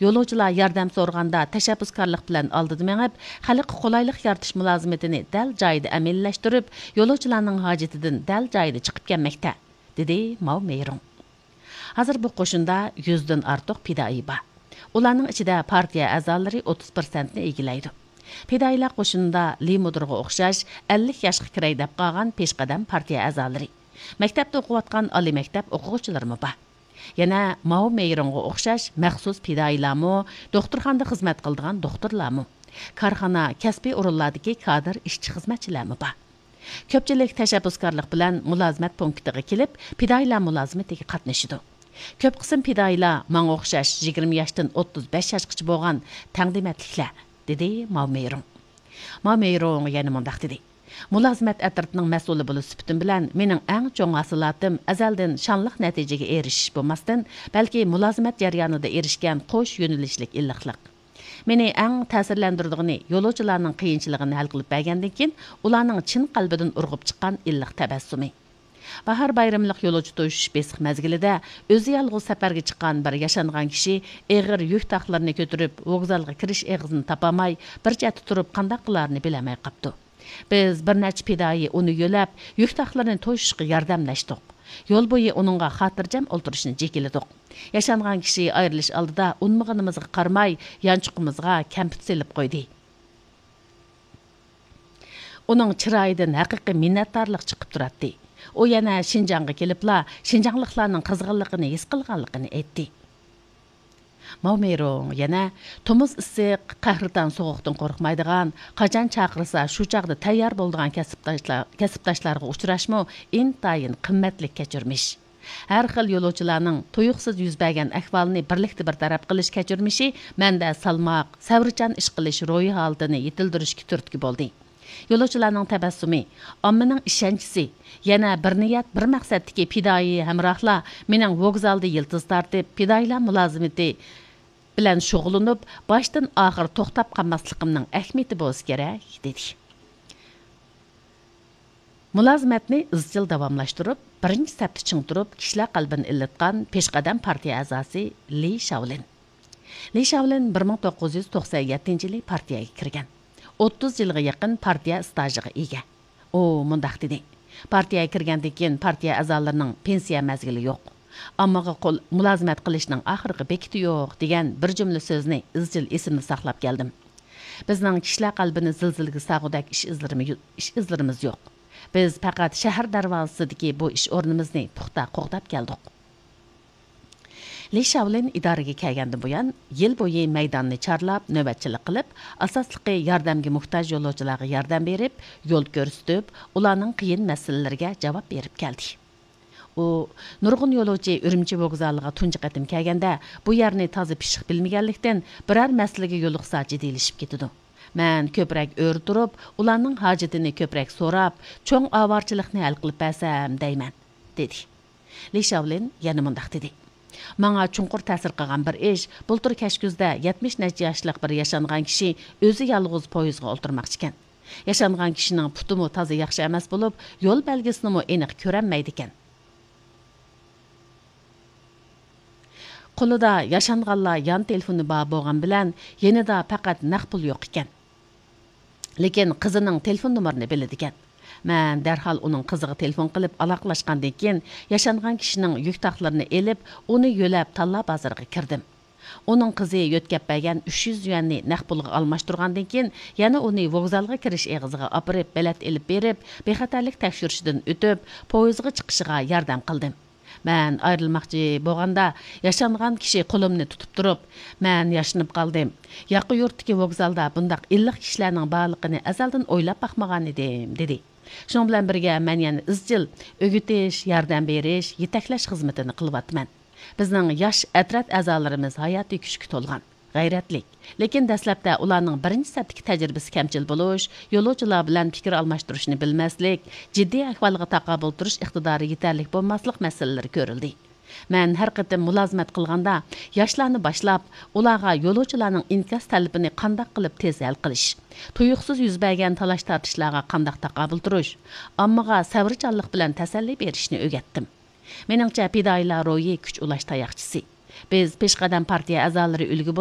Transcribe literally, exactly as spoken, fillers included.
يولۇچىلار ياردەم سورىغاندا تەشەببۇسكارلىق بىلەن ئالدىدا مېڭىپ، خەلققە قولايلىق يارىتىش مۇلازىمىتىنى دەل جايىدا ئەمەلىيلەشتۈرۈپ، يولۇچىلارنىڭ ھاجىتىدىن دەل جايىدا چىقىپ كەلمەكتە، دېدى ماۋ مېيرۇڭ. ھازىر بۇ قوشۇندا يۈزدىن ئارتۇق پىدائىي بار. ئۇلارنىڭ ئىچىدە پارتىيە ئەزالىرى ئوتتۇز پىرسەنتنى ئىگىلەيدۇ. پىدائىيلار قوشۇنىدا لى مۇدىرغا ئوخشاش ئەللىك ياشقا كىرەي دەپ قالغان پېشقەدەم پارتىيە ئەزالىرى، مەكتەپتە ئوقۇۋاتقان ئالىي مەكتەپ ئوقۇغۇچىلىرىمۇ بار. يەنە ماۋ مېيرۇڭغا ئوخشاش مەخسۇس پىدائىيلارمۇ، دوختۇرخانىدا خىزمەت قىلىدىغان دوختۇرلارمۇ، كارخانا، كەسپىي ئورۇنلاردىكى كادىر ئىشچى-خىزمەتچىلەرمۇ بار. كۆپچىلىك تەشەببۇسكارلىق بىلەن مۇلازىمەت پونكىتىغا كېلىپ، پىدائىيلار مۇلازىمىتىگە قاتنىشىدۇ. كۆپ قىسىم پىدائىيلار ماڭا ئوخشاش يىگىرمە ياشتىن ئوتتۇز بەش ياشقىچە بولغان تەڭدىمەتلىكلەر، دېدى ماۋ مېيرۇڭ. ماۋ مېيرۇڭ يەنە مۇنداق دېدى: مۇلازىمەت ئەترىتىنىڭ مەسئۇلى بولۇش سۈپىتىم بىلەن، مېنىڭ ئەڭ چوڭ ھاسىلاتىم ئەزەلدىن شانلىق نەتىجىگە ئېرىشىش بولماستىن، بەلكى مۇلازىمەت جەريانىدا ئېرىشكەن قوش يۆنىلىشلىك ئىللىقلىق. مېنى ئەڭ تەسىرلەندۈرىدىغىنى يولۇچىلارنىڭ قىيىنچىلىقىنى ھەل قىلىپ بەرگەندىن كېيىن، ئۇلارنىڭ چىن قەلبىدىن ئۇرغۇپ چىققان ئىللىق تەبەسسۇمى. باھار بايرىملىق يولۇچى توشۇش بېسىق مەزگىلىدە ئۆزى يالغۇز سەپەرگە چىققان بىر ياشانغان كىشى ئېغىر يۈك تاقلىرىنى كۆتۈرۈپ، ۋوگزالغا كىرىش ئېغىزىنى تاپالماي، بىر چەتتە تۇرۇپ قانداق قىلارىنى بىلەلمەي قاپتۇ. بىز بىر نەچچە پىدائىي ئۇنى يۆلەپ، يۈك تاقلىرىنى توشۇشقا ياردەملەشتۇق. يول بويى ئۇنىڭغا خاتىرجەم ئولتۇرۇشنى جېكىلىدۇق. ياشانغان كىشى ئايرىلىش ئالدىدا ئۇنىمىغىنىمىزغا قارىماي، يانچۇقىمىزغا كەمپۈت سېلىپ قويدى. ئۇنىڭ چىرايىدىن ھەقىقىي مىننەتدارلىق چىقىپ تۇراتتى. ئۇ يەنە شىنجاڭغا كېلىپلا شىنجاڭلىقلارنىڭ قىزغىنلىقىنى ھېس قىلغانلىقىنى ئېيتتى. ماۋ مېيرۇڭ يەنە تومۇز ئىسسىق، قەھرىتان سوغۇقتىن قورقمايدىغان، قاچان چاقىرسا شۇ چاغدا تەييار بولىدىغان كەسىپداشلار، كەسىپداشلارغا ئۇچراشمۇ ئىنتايىن قىممەتلىك كەچۈرمىش. ھەر خىل يولۇچىلارنىڭ تۇيۇقسىز يۈز بەرگەن ئەھۋالىنى بىرلىكتە بىر تەرەپ قىلىش كەچۈرمىشى مەندە سالماق، سەۋرچان ئىش قىلىش روھىي ھالىتىنى يېتىلدۈرۈشكە تۈرتكە بولدى. يولۇچىلارنىڭ تەبەسسۇمى، ئاممىنىڭ ئىشەنچىسى، يەنە بىر نىيەت، بىر مەقسەتتىكى پىدائىي ھەمراھلار مېنىڭ ۋوگزالدا يىلتىز تارتىپ، پىدائىيلار مۇلازىمىتى بىلەن شۇغۇللىنىپ، باشتىن ئاخىر توختاپ قالماسلىقىمنىڭ ئەھمىيىتى بولسا كېرەك، دېدى. مۇلازىمەتنى ئىزچىل داۋاملاشتۇرۇپ، بىرىنچى سەپتە چىڭ تۇرۇپ، كىشىلەر قەلبىنى ئىللىتقان پېشقەدەم پارتىيە ئەزاسى لى شاۋلىن. لى شاۋلىن بىر مىڭ توققۇز يۈز توقسەن يەتتىنچى يىلى پارتىيەگە كىرگەن. ئوتتۇز يىلغا يېقىن پارتىيە ئىستاژىغا ئىگە. ئۇ مۇنداق دېدى: پارتىيەگە كىرگەندىن كېيىن پارتىيە ئەزالىرىنىڭ پېنسىيە مەزگىلى يوق، ئاممىغا قول، مۇلازىمەت قىلىشنىڭ ئاخىرقى بېكىتى يوق دېگەن بىر جۈملە سۆزنى ئىزچىل ئېسىمدە ساقلاپ كەلدىم. بىزنىڭ كىشىلەر قەلبىنى زىلزىلىگە سالغۇدەك ئىش ئىزلىرىمى-، ئىش ئىزلىرىمىز يوق. بىز پەقەت شەھەر دەرۋازىسىدىكى بۇ ئىش ئورنىمىزنى پۇختا قوغداپ كەلدۇق. لى شاۋلىن ئىدارىگە كەلگەندىن بۇيان، يىل بويى مەيداننى چارلاپ، نۆۋەتچىلىك قىلىپ، ئاساسلىقى ياردەمگە موھتاج يولۇچىلارغا ياردەم بېرىپ، يول كۆرسىتىپ، ئۇلارنىڭ قىيىن مەسىلىلىرىگە جاۋاب بېرىپ كەلدى. ئۇ، نۇرغۇن يولۇچى ئۈرۈمچى ۋوگزالىغا تۇنجى قېتىم كەلگەندە، بۇ يەرنى تازا پىششىق بىلمىگەنلىكتىن، بىرەر مەسىلىگە يولۇقسا جىددىيلىشىپ كېتىدۇ. مەن كۆپرەك ئۆرە تۇرۇپ، ئۇلارنىڭ ھاجىتىنى كۆپرەك سوراپ، چوڭ ئاۋارىچىلىقنى ھەل قىلىپ بەرسەم دەيمەن، دېدى. لى شاۋلىن يەنە مۇنداق دېدى: ماڭا چوڭقۇر تەسىر قىلغان بىر ئىش، بۇلتۇر كەچكۈزدە يەتمىش نەچچە ياشلىق بىر ياشانغان كىشى ئۆزى يالغۇز پويىزغا ئولتۇرماقچىكەن. ياشانغان كىشىنىڭ پۇتىمۇ تازا ياخشى ئەمەس بولۇپ، يول بەلگىسىنىمۇ ئېنىق كۆرەلمەيدىكەن. قولىدا ياشانغانلار يان تېلېفونى بار بولغان بىلەن، يېنىدا پەقەت نەق پۇل يوق ئىكەن. لېكىن قىزىنىڭ تېلېفون نومۇرىنى بىلىدىكەن. مەن دەرھال ئۇنىڭ قىزىغا تېلېفون قىلىپ ئالاقىلەشقاندىن كېيىن، ياشانغان كىشىنىڭ يۈك تاقلىرىنى ئېلىپ، ئۇنى يۆلەپ تاللا بازىرىغا كىردىم. ئۇنىڭ قىزى يۆتكەپ بەرگەن ئۈچ يۈز يۈەننى نەق پۇلغا ئالماشتۇرغاندىن كېيىن، يەنە ئۇنى ۋوگزالغا كىرىش ئېغىزىغا ئاپىرىپ، بېلەت ئېلىپ بېرىپ، بىخەتەرلىك تەكشۈرۈشىدىن ئۆتۈپ، پويىزغا چىقىشىغا ياردەم قىلدىم. مەن ئايرىلماقچى بولغاندا، ياشانغان كىشى قولۇمنى تۇتۇپ تۇرۇپ، مەن ياشىنىپ قالدىم. ياقا يۇرتتىكى ۋوگزالدا بۇنداق ئىللىق كىشىلەرنىڭ بارلىقىنى ئەزەلدىن ئويلاپ باقمىغان ئىدىم، دېدى. شۇنىڭ بىلەن بىرگە، مەن يەنە ئىزچىل ئۆگىتىش، ياردەم بېرىش، يېتەكلەش خىزمىتىنى قىلىۋاتىمەن. بىزنىڭ ياش ئەترەت ئەزالىرىمىز ھاياتىي كۈچكە تولغان، غەيرەتلىك. لېكىن دەسلەپتە ئۇلارنىڭ بىرىنچى سەپتىكى تەجرىبىسى كەمچىل بولۇش، يولۇچىلار بىلەن پىكىر ئالماشتۇرۇشنى بىلمەسلىك، جىددىي ئەھۋالغا تاقابىل تۇرۇش ئىقتىدارى يېتەرلىك بولماسلىق مەسىلىلىرى كۆرۈلدى. مەن ھەر قېتىم مۇلازىمەت قىلغاندا، ياشلارنى باشلاپ، ئۇلارغا يولۇچىلارنىڭ ئىنكاس تەلىپىنى قانداق قىلىپ تېز ھەل قىلىش، تۇيۇقسىز يۈز بەرگەن تالاش-تارتىشلارغا قانداق تاقابىل تۇرۇش، ئاممىغا سەۋرچانلىق بىلەن تەسەللى بېرىشنى ئۆگەتتىم. مېنىڭچە، پىدائىيلار روھى كۈچ ئۇلاش تاياقچىسى. بىز پېشقەدەم پارتىيە ئەزالىرى ئۈلگە